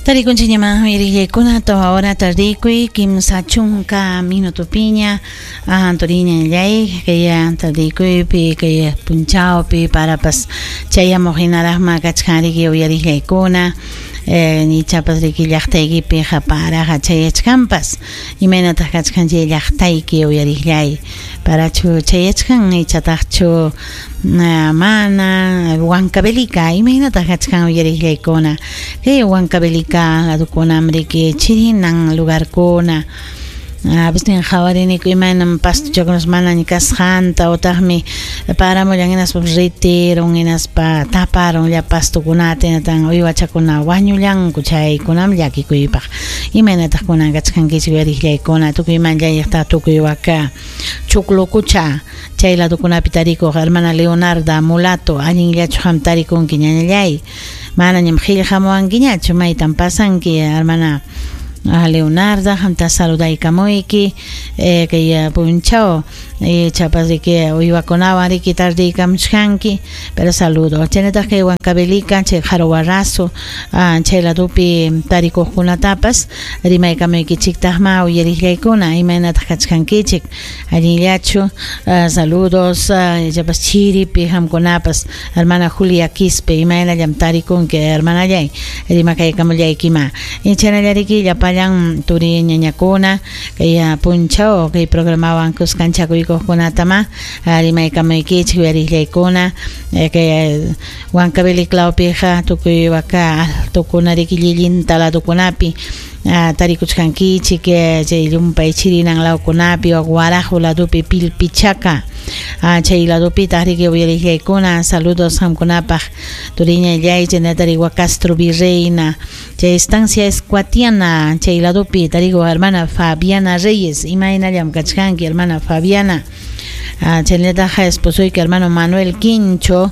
Tarikunchikñaman uyariqllaykuna tawa hora tardikuy 30 minutopiña turiñallay kay tardikuypi kay punchawpi parapas chayamuq hinaraqma kachkan riki uyariqllaykuna ichapas riki llaqtaykipiqa paraqa chayachkanpas imaynataq kachkan chay llaqtayki uyariqllay parachu chayachkan ichataqchu mana Huancavelica imaynataq kachkan uyariqllaykuna kay Huancavelica ladukunam riki chirinan lugarkuna a qhawariniku imaynam pastuchakunas manaña kasqanta utaqmi paramullan hinaspa ritirun hinaspa taparun llapa pastukunata hinatan uywachakuna wañullanku chaykunam llakikuypaq imaynataq kunan kachkankichik uyariqllaykuna tukuy manllayaqta tukuy waka Choclococha chay ladukunapi tarikuq hermana Leonarda Mulato allinllachu qam tarikunki ñañallay manañam qillqamuwankiñachu maytam pasanki hermana Leonarda qamta saludaykamuyki kay punchaw ichapas riki uywakunawan riki tardiykamuchkanki pero saludo chaynataq kay Huancavelica chay Qaruwarrasu chay ladupi tarikuqkunatapas rimaykamuykichiktaqma uyariqllaykuna imaynataq kachkankichik allinllachu saludos ichapas chiripi qamkunapas hermana Julia Quispe imaynallam tarikunki hermanallay rimakaykamullaykima chaynallariki llapallan turi ñañakuna kay punchaw kay programawan kuskanchakuykuqkunatama rimaykamuykichik uyariqllaykuna kay Huancavelica lawpiqa tukuy waka altukuna riki llillinta ladukunapi tarikuchkankichik chay llumpay chirinan lawkunapi Huarajo ladupi Pilpichaka chay ladupitaq riki uyariqllaykuna saludos qamkunapaq turiñallay chaynata Castro Virreina chay estancia Escuatiana chay ladupi tarikuq hermana Fabiana Reyes imaynallam kachkanki hermana Fabiana chaynataq esposoyki hermano Manuel Quincho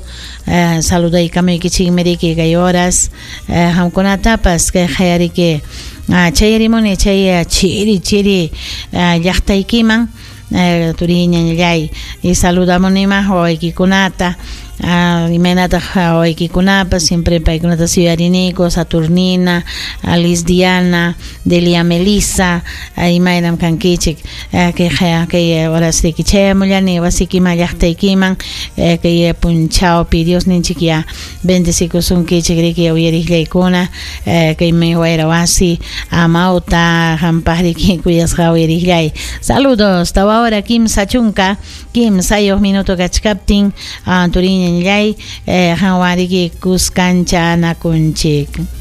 saludaykamuykichikmi riki kay horas qamkunatapas kay qayariki chayarimuni chay chiri chiri llaqtaykiman turiñallay y saludamunima wawaykikunata imaynataq wawaykikunapas siempre paykunata suyariniku Saturnina, Alice Diana, Delia Melissa imaynam kankichik kay horas riki chayamullani wasikiman llaqtaykiman kay punchawpi Diosninchik ya bendecikusunkichik riki uyariqllaykuna kaymi wayra wasi amawta qampaq riki kuyasqa uyariqllay saludos tawa hora 33 minuto kachkaptin turiñallay qanwan riki kuskancha anakunchik.